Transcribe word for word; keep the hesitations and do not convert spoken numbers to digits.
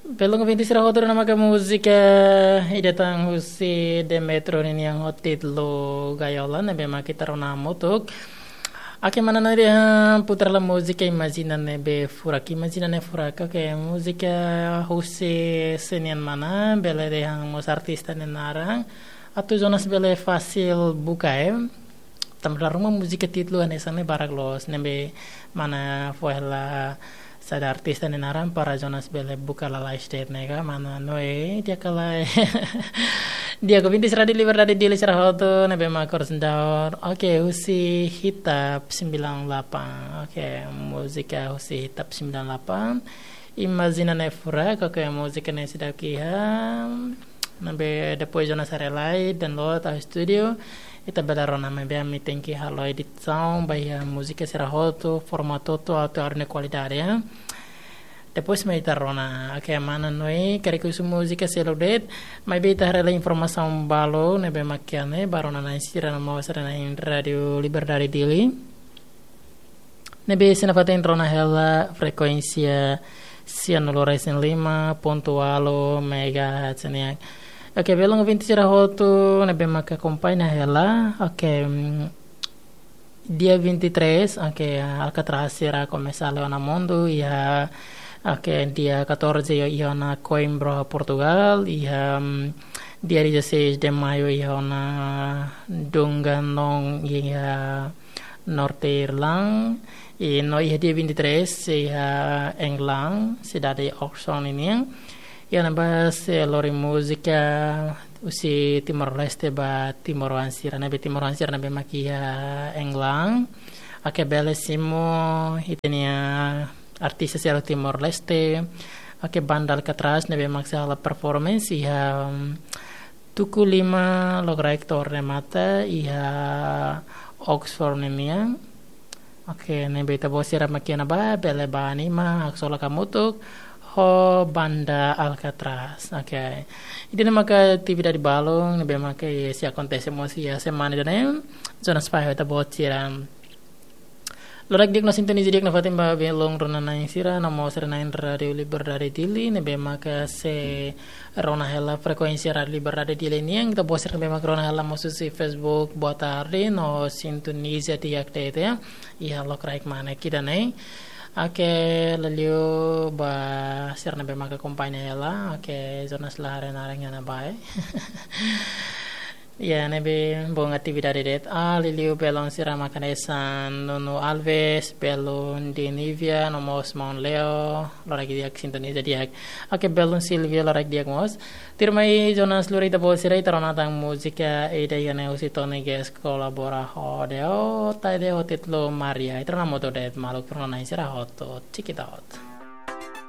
Belun ouvinte sira hotu, ne'e maka múzika ida tan husi Demetrio nian ho títulu Gaiola, ne'ebé mak ita rona hamutuk. Oke, mana nari ha putar la múzika Imajina Ne'ebé Furak, Imajina Ne'e Furak. Oke, múzika husi sé nian mana, bele dehan mós artista nia naran. Atu Jonas bele fasil buka, eh. Tanba dala ruma múzika títulu hanesan ne'e barak loos, ne'ebé mana fó hela saida artista nia naran para Jonas bele buka lalais de'it ne'e ka, mana Noe, di'ak ka lae. Di'ak ouvinte sira Rádiu Liberdade Dili sira hotu, ne'ebé mak korsendaur. Oke, husi Hitap sembilan delapan. Oke, múzika husi Hitap sembilan delapan. Imajina Ne'e Furak, oke, múzika ne'e seidauk iha. Ne'ebé depois Jonas haree lai, download iha estúdiu. Ita bele rona, maibé ami tenke halo edisaun ba iha múzika sira hotu, formatu hotu, atu haree nia kualidade, ya. Depois mak ita rona. Oke, mana Noe, karik husu múzika seluk de'it, maibé ita haree lai informasaun balu, ne'ebé mak iha ne'e, ba rona-na'in sira no mós sira na'in Rádiu Liberdade Dili. Ne'ebé sei nafatin rona hela frekuénsia sianulu resin lima pontu ualu megahertz nian. Oke, belun ouvinte sira hotu, ne'ebé maka akompaña hela. Oke, mm, dia vinte e três, oke, Alcatraz sira komesa halo ona mundu, iha, oke, dia catorze iha ona Coimbra, Portugal, iha, mm, dia dezasseis de maio iha ona Dungannon, iha Norte Irlanda, i no iha dia vinte e três, iha England, sidade Oxford nian. Iha ne'ebá sei lori múzika husi Timor-Leste ba timoroan sira ne'ebé, timoroan sira ne'ebé mak iha England. Oke, bele simu ita-nia artista sira Timor-Leste. Oke, banda Alcatraz ne'ebé mak sei halo performance iha, mm, tuku lima lokraik to'o remata iha Oxford nian. Oke, ne'ebé ita-boot sira mak iha ne'ebá, bele bá anima, haksolok hamutuk ho banda Alcatraz. Oke. Ida-ne'e maka atividade balun ne'ebé maka sei akontese mós iha semana ida-ne'e. Jonas fahe ho ita-boot sira. Loraik di'ak no sintoniza di'ak nafatin ba belun rona-na'in sira no mós sira na'in Rádiu Liberdade Dili, ne'ebé maka sei rona hela frekuénsia Rádiu Liberdade Dili nian, ita-boot sira ne'ebé maka rona hela mós husi Facebook, boa tarde, no sintoniza di'ak de'it, ya. Iha lokraik mane ida-ne'e. Oke, liuliu ba sira ne'ebé maka akompaña hela. Oke, Jonas la haree naran iha ne'ebá. Ya, ne'ebé bom atividade de'it. Ah, liuliu belun sira mak hanesan Nuno Alves, belun de Nívia, no mós maun Leo, loraik di'ak sintoniza di'ak. Oke, belun Silvia, loraik di'ak mós. Tuirmai Jonas lori ita-boot sira, ita rona tan múzika ida iha ne'e husi Tony Guest kolabora ho Deota, ida ho títulu Maria. Ita rona hamutuk de'it, maluk rona-na'in sira hotu. Check it out.